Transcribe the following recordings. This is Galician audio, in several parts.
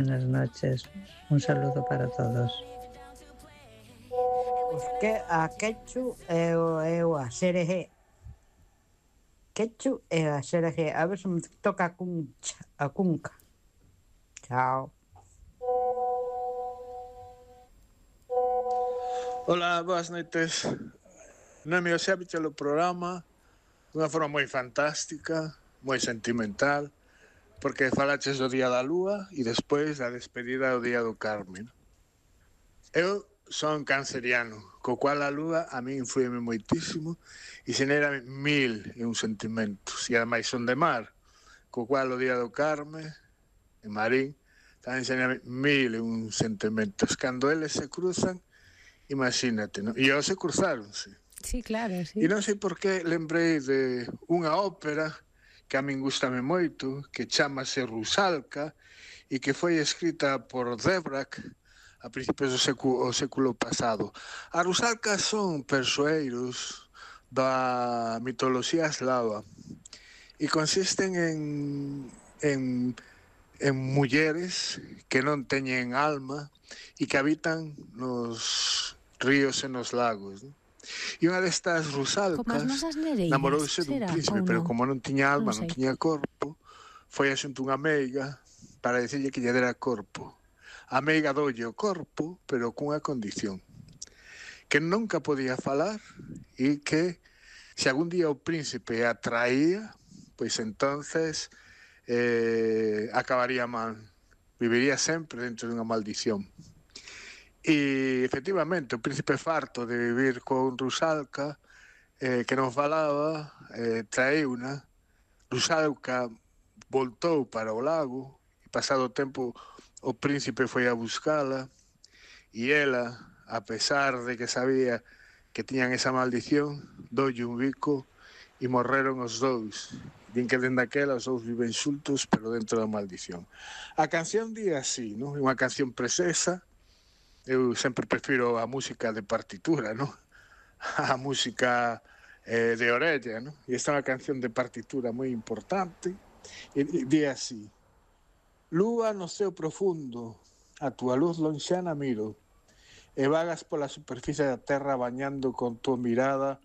Buenas noches. Un saludo para todos. Pois que a Quechu e a Xerejé. Quechu e a Xerejé. A ver se me toca a Cunca. Chao. Ola, boas noites. Nome Oxébiche o programa dunha forma moi fantástica, moi sentimental, porque falaches do Día da Lúa e despois a despedida do Día do Carmen. Eu son canceriano, co cual a lúa a mí influime moitísimo e xenera mil e un sentimentos. E ademais son de mar, co cual o Día do Carmen, en Marín, tamén xenera mil e un sentimentos. Cando eles se cruzan, imagínate, non? E eles se cruzáronse. Sí, claro, sí. E non sei por que lembrei de unha ópera que a min gustame moito, que chamase Rusalka, e que foi escrita por Dvořák a principios do século pasado. A Rusalka son persoeiros da mitoloxía eslava e consisten en mulleres que non teñen alma e que habitan nos ríos e nos lagos, non? E unha destas rusalcas namorouse dun príncipe, pero como non tiña alma, non tiña corpo, foi a xunto unha meiga para dicirlle que lle dera corpo. A meiga doulle o corpo, pero cunha condición, que nunca podía falar e que se algún día o príncipe a traía, pois entonces acabaría mal, viviría sempre dentro dunha maldición. E efectivamente o príncipe farto de vivir con Rusalka, que non falaba, traeuna. Rusalka voltou para o lago e pasado o tempo o príncipe foi a buscala e ela, a pesar de que sabía que tiñan esa maldición, doulle un bico e morreron os dous. Din que dende aquela os dous viven xuntos pero dentro da maldición. A canción di así, non? É unha canción preciosa. Eu sempre prefiro a música de partitura, non? A música de orella, non? E esta é unha canción de partitura moi importante. E di así: Lúa no ceo profundo, a túa luz lonxana miro, e vagas pola superficie da terra bañando con túa mirada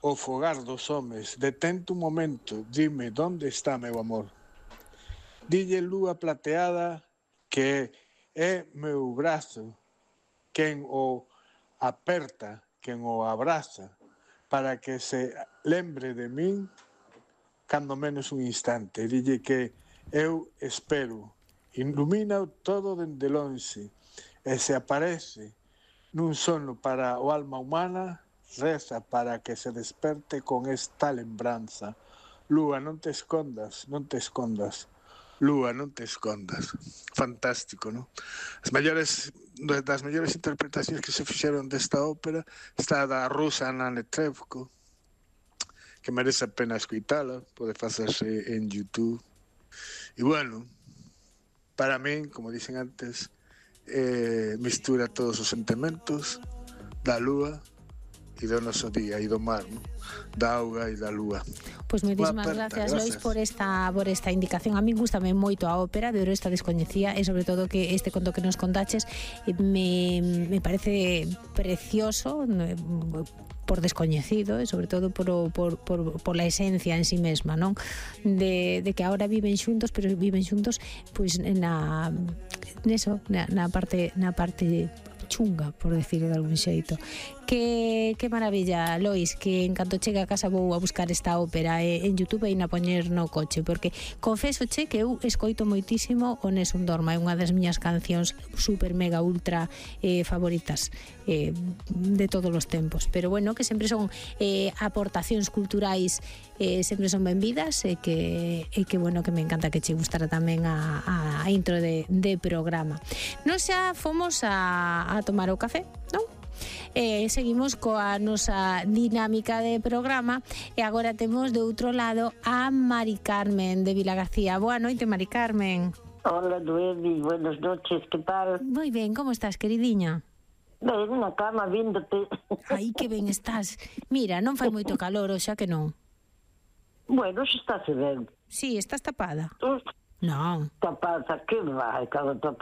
o fogar dos homes. Detente un momento, dime, donde está meu amor? Dille lúa plateada que é meu brazo, quen o aperta, quen o abraza, para que se lembre de min cando menos un instante. Dille que eu espero, ilumina todo dende lonxe, e se aparece nun sono para o alma humana, reza para que se desperte con esta lembranza. Lúa, non te escondas, non te escondas. Lúa, non te escondas. Fantástico, non? Das mellores interpretacións que se fixeron desta ópera está da rusa Anna Netrebko, que merece a pena escoitala, pode facerse en YouTube. E bueno, para min, como dixen antes, mistura todos os sentimentos da lúa e do noso día e do mar, non? Da auga e da lúa. Pois moitísimas gracias, Lois, por esta indicación. A mí gustame moito a ópera, pero esta descoñecía, e sobre todo que este conto que nos contaches me parece precioso por descoñecido e sobre todo por la esencia en sí mesma, non? De que agora viven xuntos, pero viven xuntos pois na parte chunga, por decirlo de algún xeito. Que maravilla, Lois, que en canto chegue a casa vou a buscar esta ópera en YouTube e na poñer no coche, porque confeso che que eu escoito moitísimo o Nessun Dorma, é unha das miñas cancións super mega ultra favoritas de todos os tempos, pero bueno, que sempre son aportacións culturais, sempre son benvidas e que bueno, que me encanta que che gustara tamén a intro de programa. Non xa fomos a tomar o café, non? Seguimos coa nosa dinámica de programa e agora temos de outro lado a Mari Carmen de Vilagarcía. Boa noite, Mari Carmen. Hola, Noemi, buenas noches, que tal? Moi ben, como estás, queridiña? Ben, na cama, víndote. Ai, que ben estás. Mira, non fai moito calor, xa que non. Bueno, xa está se ben. Sí, estás tapada. Non. tapaza, que vai, cada